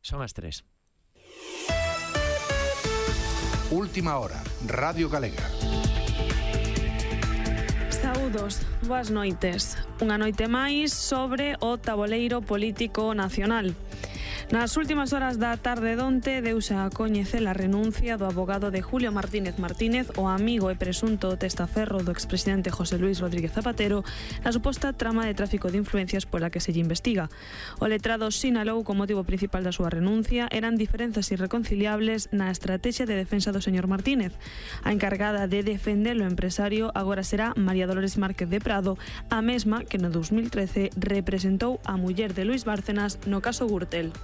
Son as 3. Última hora, Radio Galega. Saúdos, boas noites. Unha noite máis sobre o taboleiro político nacional. Nas últimas horas da tarde donte deuse a coñecer a renuncia do abogado de Julio Martínez Martínez, o amigo e presunto testaferro do expresidente José Luis Rodríguez Zapatero, na suposta trama de tráfico de influencias pola que se lle investiga. O letrado sinalou como motivo principal da súa renuncia eran diferenzas irreconciliables na estrategia de defensa do señor Martínez. A encargada de defender o empresario agora será María Dolores Márquez de Prado, a mesma que no 2013 representou a muller de Luis Bárcenas no caso Gürtel.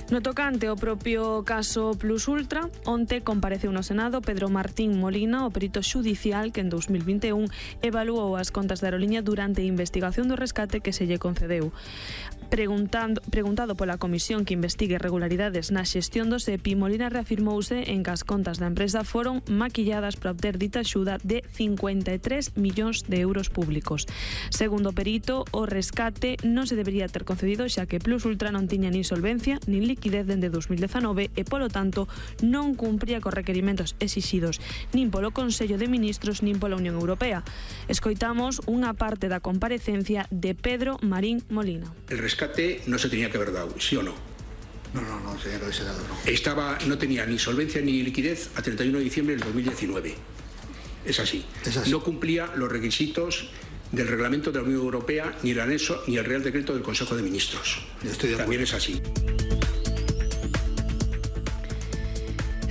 No tocante ao propio caso Plus Ultra, onte compareceu no Senado Pedro Martín Molina, o perito xudicial que en 2021 evaluou as contas da aeroliña durante a investigación do rescate que se lle concedeu. Preguntado pola comisión que investigue irregularidades na xestión do SEPI, Molina reafirmouse en que as contas da empresa foron maquilladas para obter dita axuda de 53 millóns de euros públicos. Segundo o perito, o rescate non se debería ter concedido xa que Plus Ultra non tiña nin solvencia nin liquidez dende 2019 e, polo tanto, non cumpría cos requerimentos exixidos nin polo Consello de Ministros nin pola Unión Europea. Escoitamos unha parte da comparecencia de Pedro Marín Molina. El rescate no se tenía que haber dado, ¿sí o no? No tenía que haberse dado, no. No tenía ni solvencia ni liquidez a 31 de diciembre del 2019. Es así. No cumplía los requisitos del reglamento de la Unión Europea, ni el anexo, ni el Real Decreto del Consejo de Ministros. También es así.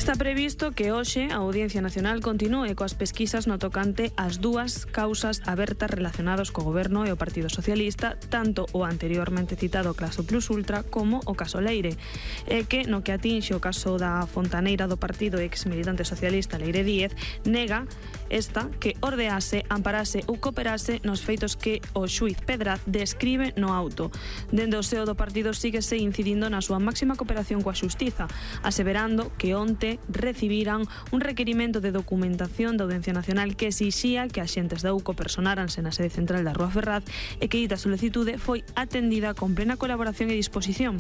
Está previsto que hoxe a Audiencia Nacional continúe coas pesquisas no tocante ás dúas causas abertas relacionadas co Goberno e o Partido Socialista, tanto o anteriormente citado caso Plus Ultra como o caso Leire, e que no que atinxe o caso da fontaneira do partido ex militante socialista Leire Díez, nega esta que ordease, amparase ou cooperase nos feitos que o xuiz Pedraz describe no auto. Dende o seo do partido síguese incidindo na súa máxima cooperación coa xustiza, aseverando que onte recibiran un requerimento de documentación da Audiencia Nacional que exixía que axentes da UCO personáranse na sede central da Rúa Ferraz e que dita solicitude foi atendida con plena colaboración e disposición.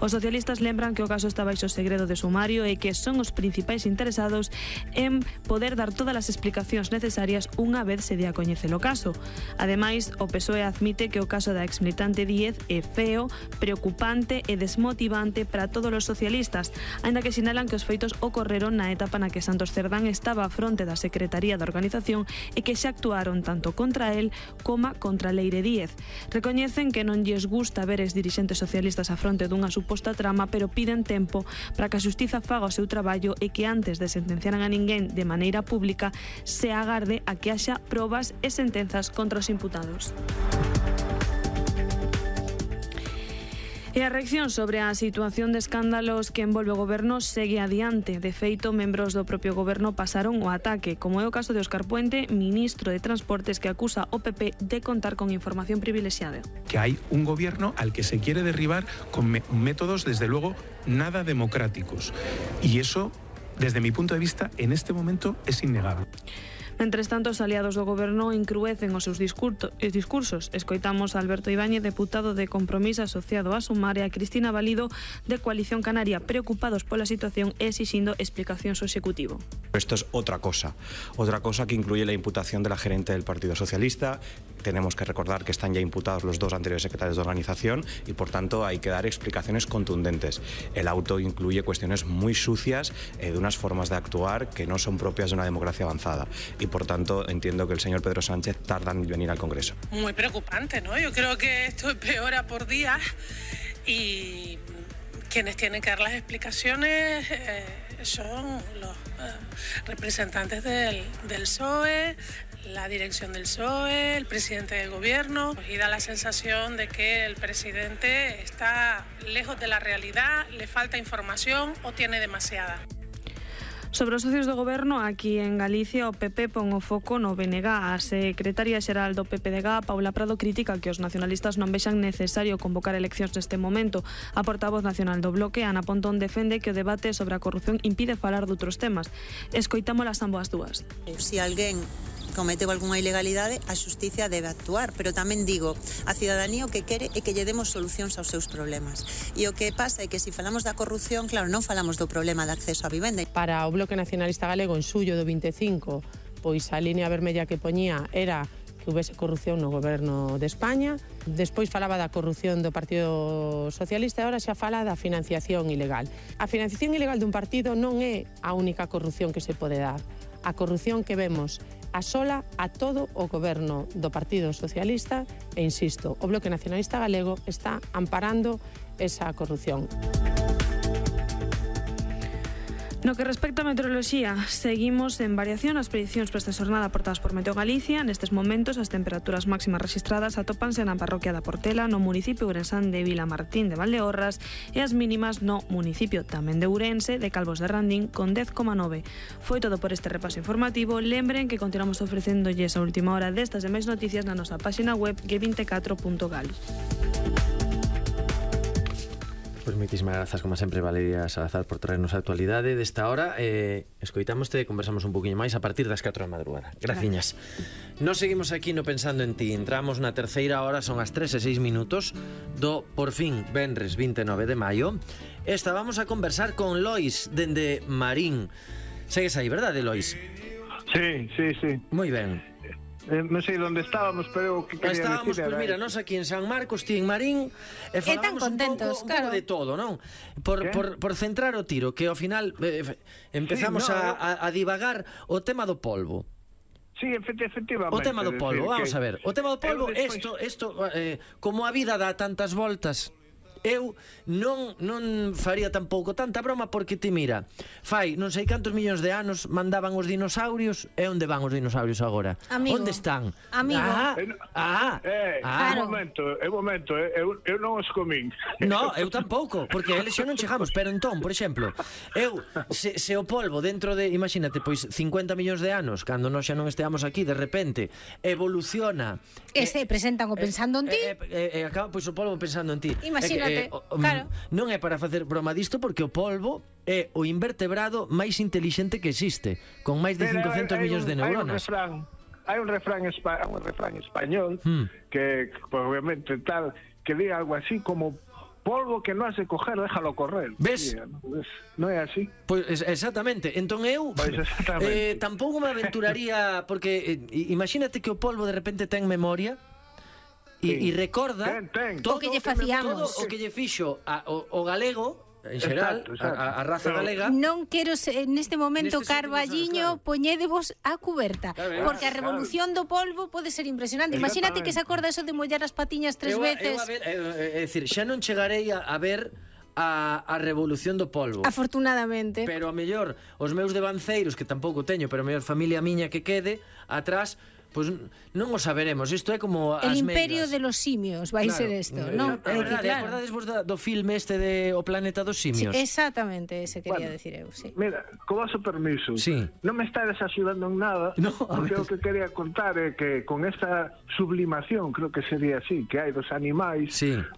Os socialistas lembran que o caso está baixo segredo de sumario e que son os principais interesados en poder dar todas as explicacións necesarias unha vez se dé a coñecer o caso. Ademais, o PSOE admite que o caso da exmilitante Díez é feo, preocupante e desmotivante para todos os socialistas, aínda que sinalan que os feitos ocorreron na etapa na que Santos Cerdán estaba á fronte da Secretaría da Organización e que xa actuaron tanto contra el como contra Leire Díez. Recoñecen que non lles gusta ver ex dirixentes socialistas á fronte dunha suposta trama, pero piden tempo para que a xustiza faga o seu traballo e que antes de sentenciaran a ninguén de maneira pública se agarde a que haxa probas e sentenzas contra os imputados. E a reacción sobre a situación de escándalos que envolve o Goberno segue adiante. De feito, membros do propio Goberno pasaron o ataque, como é o caso de Óscar Puente, ministro de Transportes, que acusa o PP de contar con información privilexiada. Que hay un gobierno al que se quiere derribar con métodos, desde luego, nada democráticos. Y eso, desde mi punto de vista, en este momento es innegable. Mentres tanto, os aliados do Goberno incruecen os seus discursos. Escoitamos a Alberto Ibáñez, deputado de Compromís asociado a Sumar, e a Cristina Valido, de Coalición Canaria, preocupados pola situación e exixindo explicacións ao Executivo. Esto es otra cosa que incluye la imputación de la gerente del Partido Socialista. Tenemos que recordar que están ya imputados los dos anteriores secretarios de organización y, por tanto, hay que dar explicaciones contundentes. El auto incluye cuestiones muy sucias de unas formas de actuar que no son propias de una democracia avanzada. Y, por tanto, entiendo que el señor Pedro Sánchez tarda en venir al Congreso. Muy preocupante, ¿no? Yo creo que esto empeora por día y quienes tienen que dar las explicaciones son los representantes del PSOE, la dirección del PSOE, el presidente del gobierno, y da la sensación de que el presidente está lejos de la realidad, le falta información o tiene demasiada. Sobre os socios do Goberno, aquí en Galicia, o PP pon o foco no BNG. A secretaria xeral do PPDG, Paula Prado, critica que os nacionalistas non vexan necesario convocar eleccións neste momento. A portavoz nacional do Bloque, Ana Pontón, defende que o debate sobre a corrupción impide falar de outros temas. Escoitámolas ambas dúas. Se alguén cometeu algunha ilegalidade, a xustiza debe actuar, pero tamén digo, a cidadanía o que quere é que lle demos solucións aos seus problemas. E o que pasa é que se falamos da corrupción, claro, non falamos do problema de acceso á vivenda. Para o Bloque Nacionalista Galego, en xullo do 25, pois a línea vermella que poñía era que houvese corrupción no goberno de España. Despois falaba da corrupción do Partido Socialista e agora xa fala da financiación ilegal. A financiación ilegal dun partido non é a única corrupción que se pode dar. A corrupción que vemos asola a todo o goberno do Partido Socialista e, insisto, o Bloque Nacionalista Galego está amparando esa corrupción. No que respecta a meteoroloxía, seguimos en variación as predicións para esta xornada aportadas por Meteo Galicia. Nestes momentos, as temperaturas máximas registradas atópanse na parroquia da Portela, no municipio ourensán de Vilamartín de Valdeorras, e as mínimas no municipio tamén de Ourense, de Calvos de Randín, con 10,9. Foi todo por este repaso informativo. Lembren que continuamos ofrecéndolles a última hora destas e máis noticias na nosa página web g24.gal. Pois moitísimas grazas, como sempre, Valeria Salazar, por traernos a actualidade desta hora. Escoitámoste e conversamos un poquinho máis a partir das 4 da madrugada. Graciñas. Nos seguimos aquí no Pensando en Ti. Entramos na terceira hora, son as 3:06 do, por fin, venres 29 de maio. Estábamos a conversar con Lois, dende Marín. Segues aí, verdade, Lois? Sí. Moi ben. Non sei onde estábamos, pero o que quería estábamos, decir era... Pois mira, nós aquí en San Marcos, ti en Marín, e falamos un pouco de todo, non? Por centrar o tiro, que ao final empezamos a divagar o tema do polvo. Sí, efectivamente. O tema do polvo, vamos a ver. O tema do polvo, isto, como a vida dá tantas voltas... Eu non faría tampouco tanta broma, porque te mira, fai non sei cantos millóns de anos mandaban os dinosaurios, e onde van os dinosaurios agora? Amigo. Onde están? Amigo. Un momento, eu non os comín. No, eu tampouco, porque eles xa non chegamos. Pero entón, por exemplo, eu se o polvo dentro de, imagínate, pois 50 millóns de anos, cando nós xa non esteamos aquí, de repente evoluciona e se presentan o pensando en ti, e acaba pois o polvo pensando en ti. Imagínate. Claro. Non é para facer broma disto, porque o polvo é o invertebrado máis intelixente que existe, con máis de 500 millóns de neuronas. Hai un refrán español que obviamente tal, que diga algo así como: polvo que non has de coger, déjalo correr. Ves? Non é así? Pois exactamente. Entón eu tampouco me aventuraría, porque imagínate que o polvo de repente ten memoria e recorda todo o que lle facíamos, o que lle fixo o galego en xeral, a raza galega. Non quero neste momento, Carballiño, poñédevos a cuberta, porque a revolución do polvo pode ser impresionante. Imagínate que se acorda eso de mollar as patiñas 3 veces. É dicir, xa non chegarei a ver a revolución do polvo, afortunadamente, pero a mellor os meus devanceiros, que tampouco teño, pero a mellor familia miña que quede atrás, pois non o saberemos. Isto é como as el imperio megas de los simios vai ser isto, non? Acordades vos do filme este de O planeta dos simios? Sí, exactamente, ese quería decir eu, sí. Mira, con vosso permiso, non me estades axudando en nada, porque o que quería contar é que con esta sublimación, creo que sería así, que hai dos animais,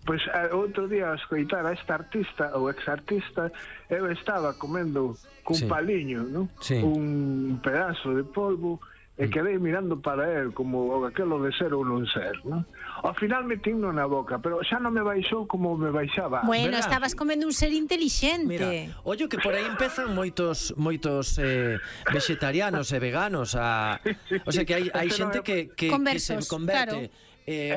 pois outro día a escoitar a esta artista ou ex-artista, eu estaba comendo cun paliño, non? Un pedazo de polvo, e quedei mirando para él como aquelo de ser ou non ser, non? Ao final metíno na boca, pero xa non me baixou como me baixaba. Bueno, estabas comendo un ser inteligente. Mira, ollo que por aí empezan moitos vegetarianos e veganos o sea que hai xente que se converte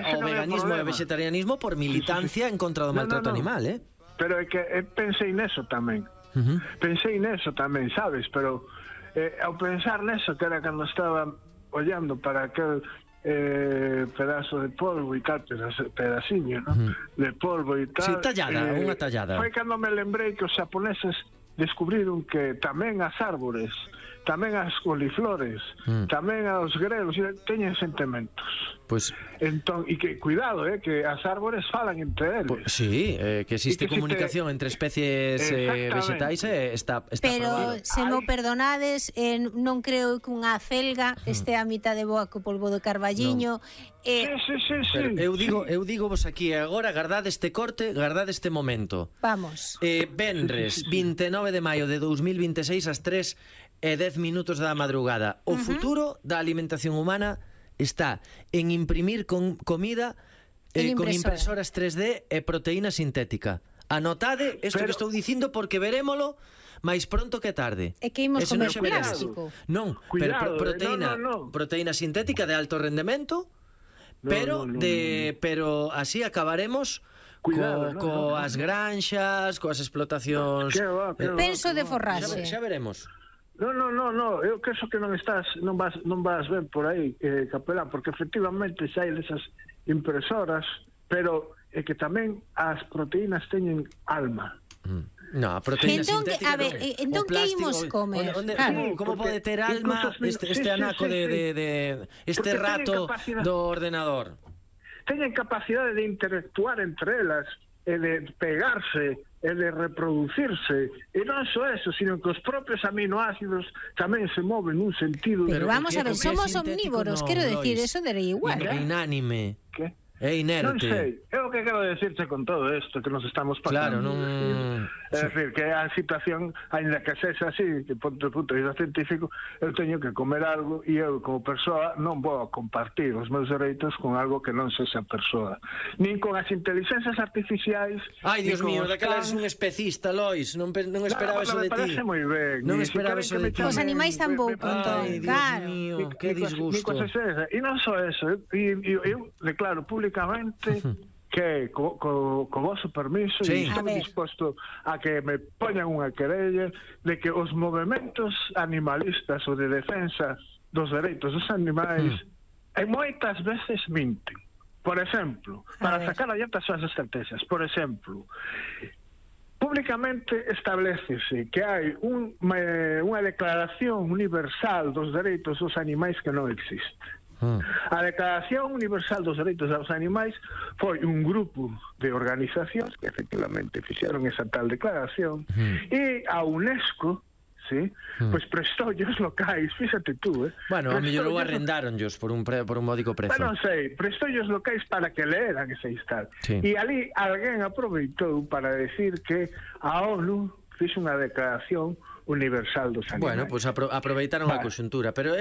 ao veganismo e ao vegetarianismo por militancia en contra do maltrato animal, Pero é que pensei neso tamén. Sabes, pero ao pensar neso, que era cando estaba ollando para aquel pedazo de polvo e tal, pedaciño, ¿no? De polvo e tal. Sí, tallada, unha tallada. Foi cando me lembrei que os xaponeses descubriron que tamén as árbores, tamén as coliflores, tamén os grelos teñen sentimentos. Pois entón, e que cuidado, que as árbores falan entre eles. Sí, que existe comunicación entre especies vegetais está pero prohibido. Se mo perdonades, non creo que unha acelga este a mitad de boa co polvo do Carballiño. Sí. Eu digo vos aquí agora, gardade este corte, gardade este momento. Vamos. Venres 29 de maio de 2026 ás 3 e 10 minutos da madrugada. O futuro da alimentación humana está en imprimir comida con impresoras 3D e proteína sintética. Anotade isto que estou dicindo porque verémolo máis pronto que tarde. É que imos comer plástico. Non, pero proteína sintética de alto rendemento, pero así acabaremos coas granxas, coas explotacións. Penso de forraxe. Xa veremos. No, eu penso que non vas ben por aí, Capelán, porque efectivamente xa hai desas impresoras, pero é que tamén as proteínas teñen alma. No, a proteína sintética a ver, entón que imos comer? Como pode ter alma este anaco este rato do ordenador? Teñen capacidade de interactuar entre elas e de pegarse e de reproducirse, e non só eso, sino que os propios aminoácidos tamén se moven nun sentido. Pero vamos a ver, somos omnívoros, quero decir, eso daría igual. Inánime. Que? É inerte. Non sei, é o que quero decirte con todo isto que nos estamos pasando. Claro, non... É dicir, que a situación, ainda que sexa así, de punto de vista científico, eu teño que comer algo e eu, como persoa, non vou a compartir os meus dereitos con algo que non sexa persoa. Nin con as inteligencias artificiais... Ai, Dios mío, daquela eres un especista, Lois, non esperaba eso de ti. Me parece moi ben. Non esperaba eso de ti. Os animais tampouco, entón. Ai, Dios mío, que disgusto. E non só eso, eu declaro públicamente que co vosso permiso estou disposto a que me poñan unha querella de que os movementos animalistas ou de defensa dos dereitos dos animais moitas veces minten. Por exemplo, para sacar adiante as súas estrategias, por exemplo, públicamente establecese que hai unha declaración universal dos dereitos dos animais que non existe. A Declaración Universal dos Dereitos dos Animais foi un grupo de organizacións que efectivamente fixeron esa tal declaración e a UNESCO pois prestou os locais, fíxate tú, Bueno, a mellor o arrendáronllos por un módico prezo. Non sei, prestou os locais para que leeran ese instante. E ali alguén aproveitou para decir que a ONU fixe unha declaración universal dos animais. Bueno, pois aproveitaron a conxuntura, pero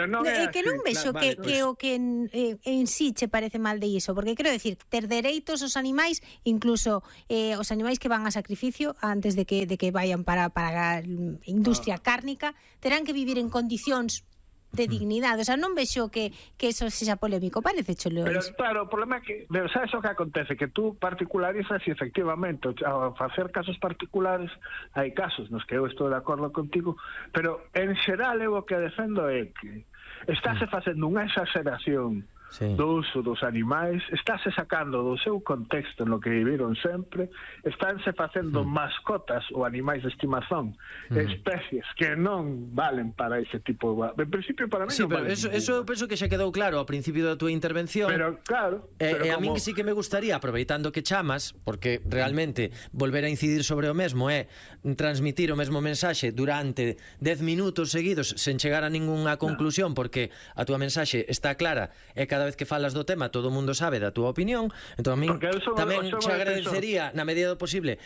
non é que non vexo que o que en sí che parece mal de iso, porque quero decir, ter dereitos os animais, incluso os animais que van a sacrificio antes de que vayan para a industria cárnica, terán que vivir en condicións de dignidade, o sea, non vexo que eso sexa polémico, parece cholo. Pero claro, o problema é que, sabes o que acontece, que tú particularizas e efectivamente, ao facer casos particulares, hai casos nos que eu estou de acordo contigo, pero en xeral eu o que defendo é que estáse facendo unha exageración do uso dos animais, estáse sacando do seu contexto no que viviron sempre, estánse facendo mascotas ou animais de estimación, especies que non valen para ese tipo de... En principio, para mí non valen. Eso eu penso que xa quedou claro ao principio da túa intervención. Pero claro... E a min que sí que me gustaría, aproveitando que chamas, porque realmente volver a incidir sobre o mesmo é transmitir o mesmo mensaxe durante 10 minutos seguidos sen chegar a ningunha conclusión, porque a túa mensaxe está clara e cada vez que falas do tema todo o mundo sabe da túa opinión, entón a min tamén te agradecería na medida do posible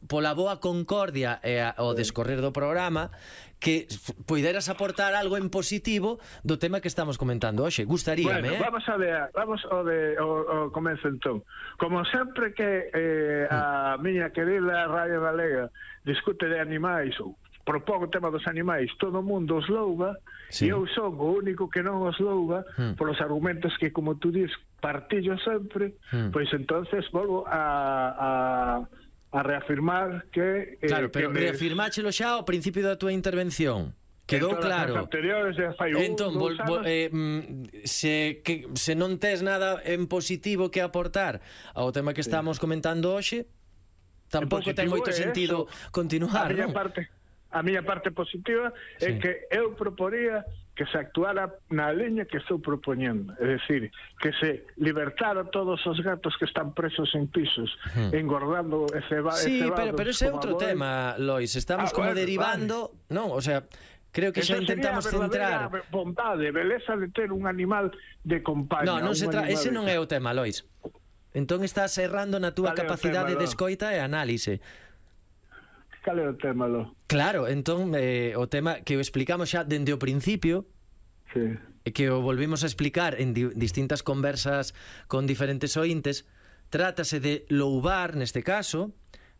pola boa concordia e o descorrer do programa que poideras aportar algo en positivo do tema que estamos comentando hoxe. Gustaríame, Vamos ao comezo entón. Como sempre que a miña querida Radio Galega discute de animais ou propón o tema dos animais, todo o mundo os louva, e eu son o único que non os louva polos argumentos que, como tú dis, partillo sempre, pois entonces volvo a reafirmar que... Claro, pero reafirmáchelo xa ao principio da túa intervención. Quedou claro. Entón, se non tes nada en positivo que aportar ao tema que estamos comentando hoxe, tampouco ten moito sentido continuar, non? A miña parte positiva é que eu proporía que se actuara na liña que estou propoñendo, é dicir, que se libertara todos os gatos que están presos en pisos, engordando e cebados. Sí, pero ese é outro tema, Lois, estamos como derivando, non, o sea, creo que xa intentamos centrar vontade, beleza de ter un animal de compañía. Non ese non é o tema, Lois. Entón estás errando na túa capacidade de escoita e análise. Cal é o tema, Lo? Claro, entón, o tema que o explicamos xa dende o principio, sí, que o volvimos a explicar en distintas conversas con diferentes ointes, trátase de louvar, neste caso,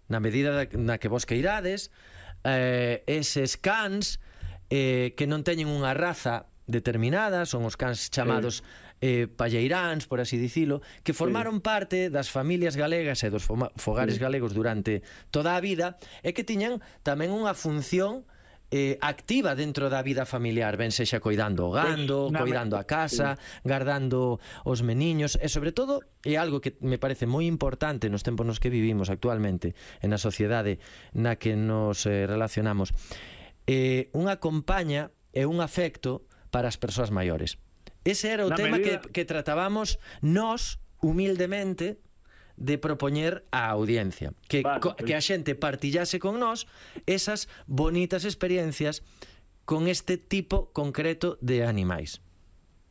na medida na que vos queirades, eses cans que non teñen unha raza determinada, son os cans chamados palleiráns, por así dicilo, que formaron parte das familias galegas e dos fogares galegos durante toda a vida e que tiñan tamén unha función activa dentro da vida familiar, ben sexa coidando o gando, coidando a casa, guardando os meniños e sobre todo, é algo que me parece moi importante nos tempos nos que vivimos actualmente en a sociedade na que nos relacionamos, unha compaña e un afecto para as persoas maiores. Ese era o tema que tratábamos nós, humildemente, de propoñer á audiencia, que a xente partillase con nós esas bonitas experiencias con este tipo concreto de animais.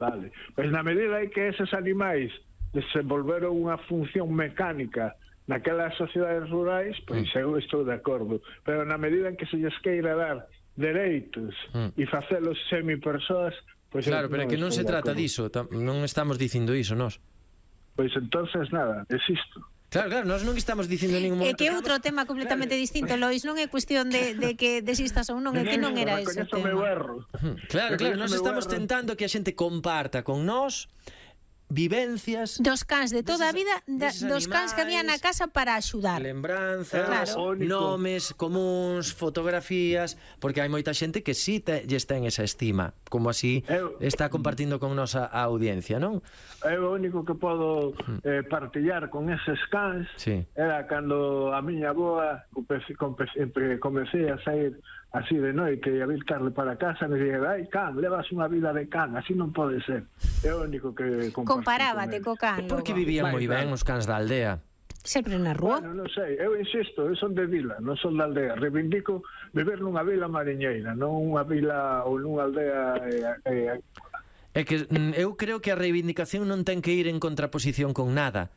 Vale, pois na medida en que eses animais desenvolveron unha función mecánica naquelas sociedades rurais, pois eu estou de acordo, pero na medida en que se lles queira dar dereitos e facelos semipersoas, pois claro, pero é que non se trata diso, non estamos dicindo iso nós. Pois entonces nada, desisto. Claro, nós non estamos dicindo en ningún momento. É que é outro tema completamente distinto, Lois, non é cuestión de que desistas ou non, é que non era ese tema. Claro, nós estamos tentando que a xente comparta con nós vivencias dos cans de toda a vida, dos cans que había na casa para axudar, lembranzas, nomes comuns, fotografías, porque hai moita xente que sí lles ten esa estima, como así está compartindo con nós a audiencia, non? Eu o único que podo partillar con eses cans era cando a miña avoa comecei a sair así de noite e a vir tarde para casa, me dixen, ai, can, levas unha vida de can, así non pode ser. É o único que comparábate co can. Porque vivían moi ben os cans da aldea. Sempre na rúa? Bueno, non sei, eu insisto, eu son de vila, non son da aldea. Reivindico viver nunha vila mariñeira, non unha vila ou nunha aldea. É que eu creo que a reivindicación non ten que ir en contraposición con nada.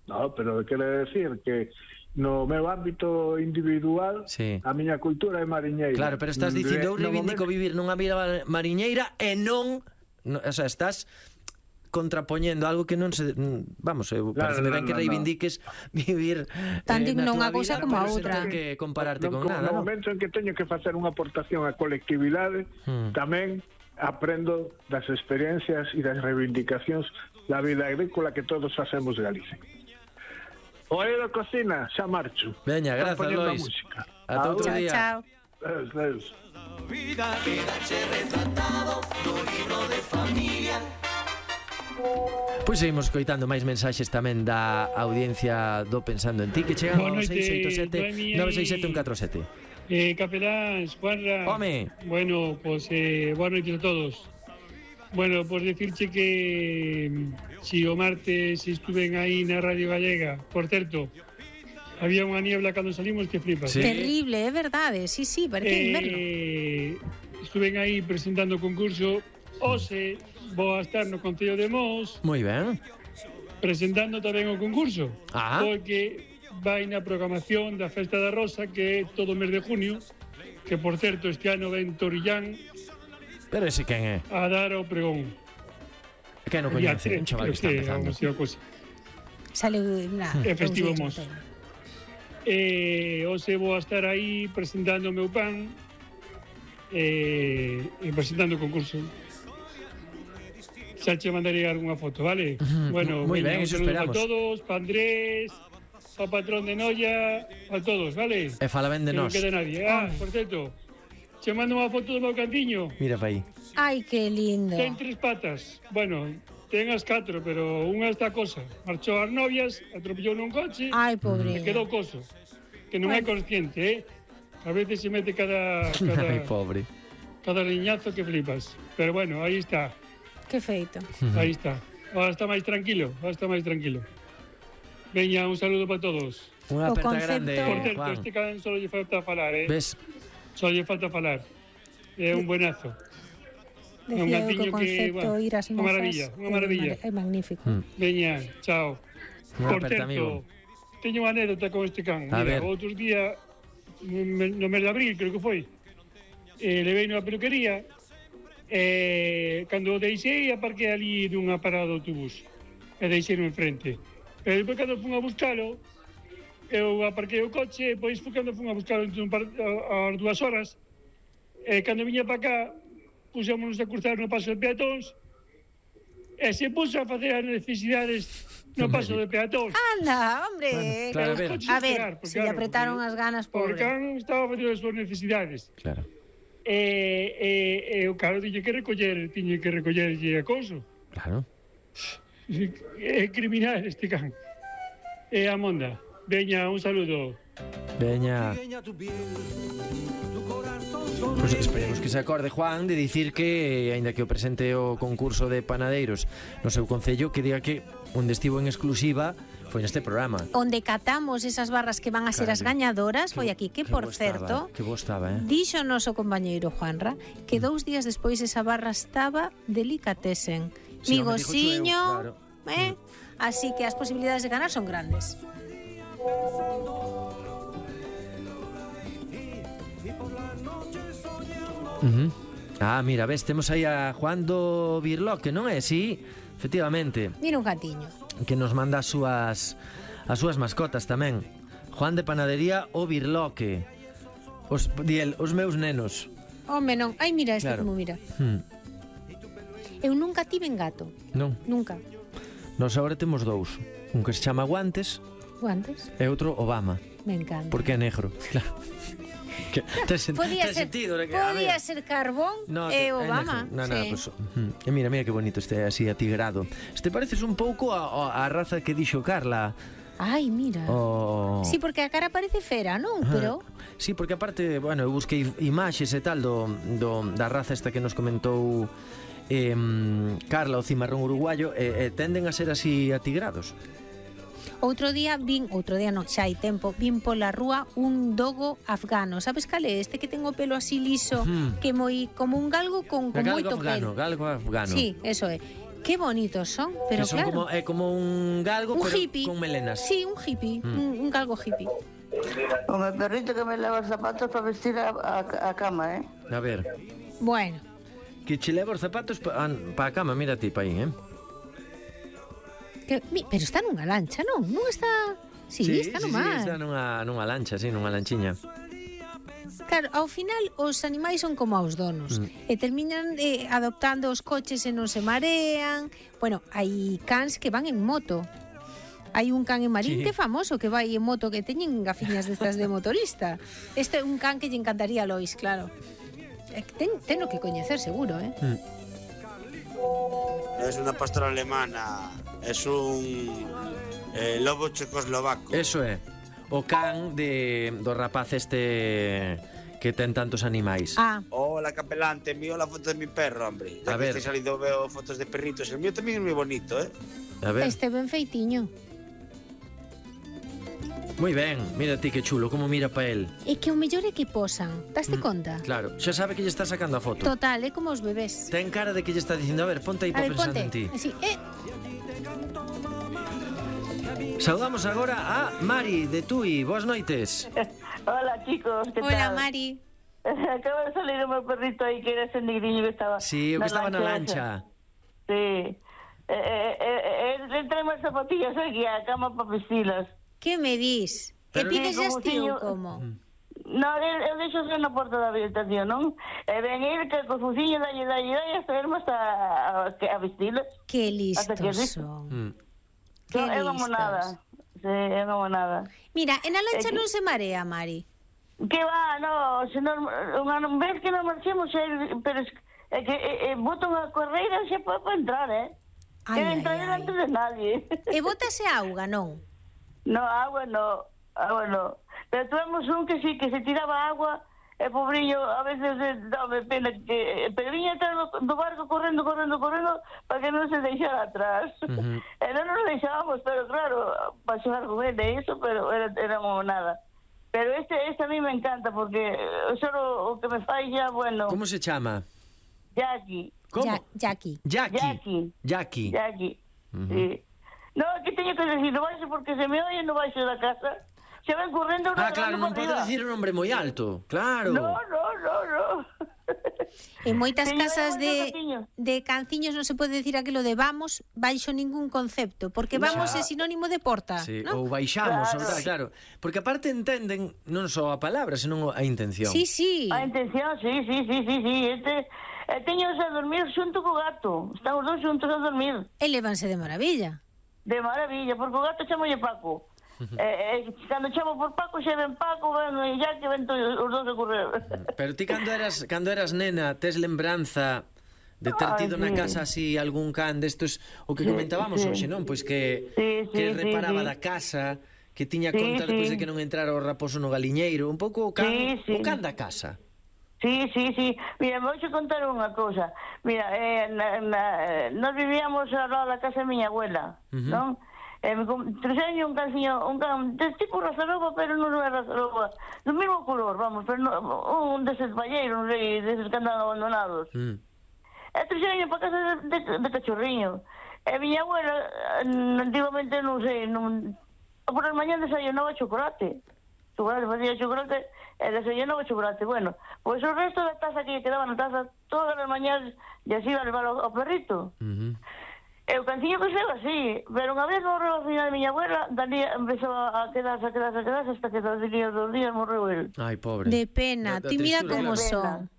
No, pero quere decir que no meu ámbito individual a miña cultura é mariñeira. Claro, pero estás dicindo eu reivindico vivir nunha vila mariñeira e non, o sea, estás contrapoñendo algo que non se, vamos, parece ben que reivindiques vivir tanto nunha cousa como a outra, non que compararte con nada. No momento en que teño que facer unha aportación á colectividade, tamén aprendo das experiencias e das reivindicacións da vida agrícola que todos facemos de Galicia. Oído cocina, xa marcho. Veña, grazas, Lois. Ata outro día. Chao. Deus. Pois seguimos coitando máis mensaxes tamén da audiencia do Pensando en Ti, que chegan ao 687 967 147. Capeláns, Juanra. Home. Bueno, pues boa noite a todos. Bueno, pues decirche que si o martes estuven aí na Radio Gallega, por certo, había unha niebla cando salimos que flipas. Sí. Terrible, é verdade, sí, parece inverno. Estuven aí presentando o concurso, hoxe vou a estar no Concello de Mos. Moi ben. Presentando tamén o concurso, porque vai na programación da Festa da Rosa, que é todo o mes de junio, que por certo este ano ven Torillán. Pero ese quen é? A dar o pregón. Que non coñece, un chaval que está empezando. Sale é festivo Mos. Hoxe vou a estar aí presentando o meu pan e presentando o concurso. Xa che mandarei algunha foto, vale? Bueno, moi ben, iso esperamos. A todos, pa Andrés, pa patrón de Noia, a todos, vale? E fala ben de nós. Non queda nadie. Por certo, che mando unha foto do meu cantiño. Mira pa aí. Ai, que lindo. Ten 3 patas. Bueno, ten as 4, pero unha está cosa. Marchou as novias, atropellou nun coche. Ai, pobre. E quedou coso. Que non é consciente, A veces se mete cada Ai, pobre. Cada riñazo que flipas. Pero bueno, aí está. Que feito. Aí está. Ahora está máis tranquilo, Veña, un saludo para todos. Unha aperta grande, Por certo, Juan. este can só lle falta falar, Ves? Só lle falta falar. É un buenazo. Decía un gatiño que o concepto ir ás mozas unha maravilla. É magnífico. Veña, chao. Unha Por aperta, certo, amigo. teño unha anécdota con este can. A Mira, ver. outros día no mes de abril, creo que foi. Levei na peluquería, cando o deixei, aparquei ali dunha parada de autobús, e deixei-no enfrente. Pero depois, cando fun a buscalo, eu aparquei o coche, e depois cando fun a buscalo ás 2 horas, cando viña para cá, pusémonos a cruzar no paso de peatóns, e se puso a facer as necesidades no paso de peatóns. Anda, hombre. Claro, a ver, se lle apretaron as ganas, pobre. Porque can estaba facendo as súas necesidades. Claro. O caro tiña que recollerlle a couso. Claro. É criminal este can. A monda. Veña, un saludo. Veña. Pois esperemos que se acorde Juan de dicir que, aínda que o presente o concurso de panadeiros no seu concello, que diga que onde estivo en exclusiva foi neste programa. Onde catamos esas barras que van a ser as gañadoras, foi aquí, que por certo, que bo estaba, dixo o noso compañeiro Juanra, que 2 días despois esa barra estaba delicatessen. Sí, migosiño, claro. Así que as posibilidades de ganar son grandes. Mira, ves, temos aí a Juan do Birloque, non é? Sí, efectivamente. Mira un gatiño. Que nos manda as súas mascotas tamén. Juan de Panadería o Birloque. Os meus nenos. Home, non. Ai, mira este Claro. como mira. Eu nunca tiven gato. Non. Nunca. Nós agora temos 2. Un que se chama Guantes Guantes. e outro Obama. Me encanta. Porque é negro. Claro. Podía ser Carbón e Obama. Pues, mira que bonito este así atigrado. Este pareces un pouco a raza que dixo Carla. Ai, mira. Sí, porque a cara parece fera, non? Pero sí, porque aparte, bueno, eu busquei imaxes e tal da raza esta que nos comentou Carla, o cimarrón uruguayo, tenden a ser así atigrados. Outro día non, xa hai tempo, vin pola rúa un dogo afgano. Sabes cal é? Este que ten o pelo así liso, que moi como un galgo con moito pelo. Galgo afgano. Sí, eso é. Qué bonitos son, pero que son claro. como un galgo, un pero hippie. con melenas. Sí, un hippie, un galgo hippie. Con el perrito que me lava os zapatos para vestir a cama, A ver. Bueno. Que che leva os zapatos para a cama, mira ti pa aí, Pero está nunha lancha, non? Non está... Sí, está no mar. Sí, está nunha lancha, nunha lanchiña. Claro, ao final os animais son como aos donos e terminan adoptando os coches e non se marean. Bueno, hai cans que van en moto. Hai un can en Marín que é famoso, que vai en moto, que teñen gafiñas destas de motorista. Este é un can que lle encantaría a Lois, claro. Teno que coñecer, seguro, No es una pastora alemana, es un lobo checoslovaco. Eso é. O can do rapaz este que ten tantos animais. Hola, capelán, te envío la foto de mi perro, hombre. Ya que estoy saliendo veo fotos de perritos. El mío también es muy bonito, A ver. Este ben feitiño. Moi ben, mira ti que chulo, como mira pa el. É que o mellor é que posan, daste conta? Claro, xa sabe que lle está sacando a foto. Total, é como os bebés. Ten cara de que lle está dicindo, a ver, ponte aí para pensar en ti. Así, Saudamos agora a Mari de Tui, boas noites. Hola, chicos, ¿qué tal? Hola, Mari. Acaba de salir un perrito aí que era ese negriño que estaba... Sí, o que estaba na lancha. Sí. Le traemos zapatillas aquí a cama para vestilas. Que me dis? Que pides estío como? No, eu deixo ser na porta da habitación, non? E ven ir que con fuciño dalle hasta irmos a vestilas. Que listos son. É como nada. Sí, é como nada. Mira, en a lancha non se marea, Mari. Que va, no, se non ves que non marchemos, pero é que botan a correira xa para entrar, Quero entrar delante de nadie. E botase auga, non? No, agua no. Pero tuvimos un que sí, que se tiraba agua, el pobrillo, a veces dame pena que... Pero viña atrás do barco correndo para que non se deixara atrás. E non nos deixábamos, pero claro, para xogar con ele e iso, pero era como nada. Pero este a mí me encanta, porque solo o que me fai ya, bueno... Como se chama? Jackie. Como? Jackie. Sí. No, que teño que decir, no baixo porque se me oye no baixo da casa, se ven correndo... Claro, non pode dicir un nombre moi alto, claro. No. En moitas casas de canciños non se pode decir aquilo de vamos baixo ningún concepto, porque vamos é sinónimo de porta, ou baixamos, claro. Porque aparte entenden non só a palabra, senón a intención. Sí. A intención, sí. Teños a dormir xunto co gato. Estamos dos xuntos a dormir. E levanse de maravilla. De maravilla, porque o gato chamolle Paco. Cando chamo por Paco, xe ven Paco, e ya que ven os dos a correr. Pero ti cando eras nena, tes lembranza de ter tido na casa así algún can destos, o que comentábamos hoxe, non? Pois que reparaba da casa, que tiña conta despois de que non entrara o raposo no galiñeiro, un pouco o can da casa. Sí. Mira, vou xe contar unha cousa. Mira, nós vivíamos ao lado da casa da miña abuela, non? Trouxeño un calciño, un can de tipo razaroba, pero non é razaroba, do mesmo color, vamos, pero un deses palleiros, non sei, deses que andan abandonados. E trouxeño para casa de cachorriño. E miña abuela, antiguamente, non sei, por as mañás desayunaba chocolate, facía chocolate e desayunaba chocolate. Bueno, pois o resto da taza que lle quedaba na taza, todas as mañás ya se iba a levar ao perrito. E o canciño que xeo así, pero unha vez morreu a final de miña abuela, dali empezou a quedarse hasta que dos días morreu el. Ai, pobre. De pena, ti mira como son.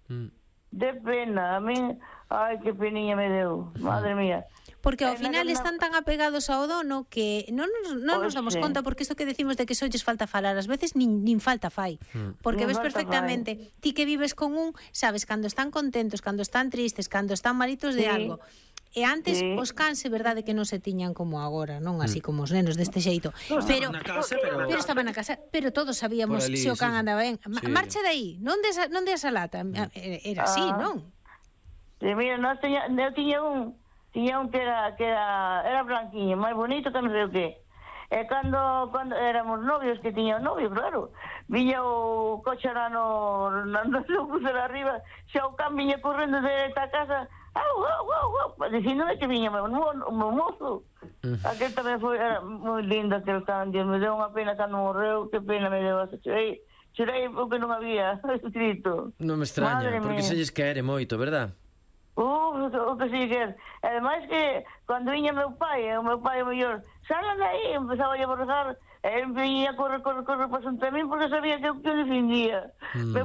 De pena, a mí, ai, que peniña me deu, madre mía. Porque ao final están tan apegados ao dono que non nos damos conta, porque isto que decimos de que solles falta falar, ás veces nin falta fai. Porque ves perfectamente, ti que vives con un, sabes, cando están contentos, cando están tristes, cando están malitos de algo. E antes os cans é verdade que non se tiñan como agora, non así como os nenos deste xeito. Pero estaban na casa, pero todos sabíamos se o can andaba ben. Marcha de aí, non des a lata. Era así, non? Sí, mira, eu tiña un que era blanquiño, máis bonito que non sei o que. E cando éramos novios, que tiña un novio, claro, viña o coche no crucero arriba, xa o can viña correndo desta casa, dicindo que viña o meu mozo. Aquel tamén era moi lindo, aquel can, Dios, me deu unha pena cando morreu, que pena me deu, chorei porque non había escrito. Non me extraña, porque se lles quere moito, verdad? O que sí que é. Ademais que cando viña o meu pai mellor, salgan de aí, empezaba a borrar, e viña a correr para xunto a min porque sabía que eu defendía. Meu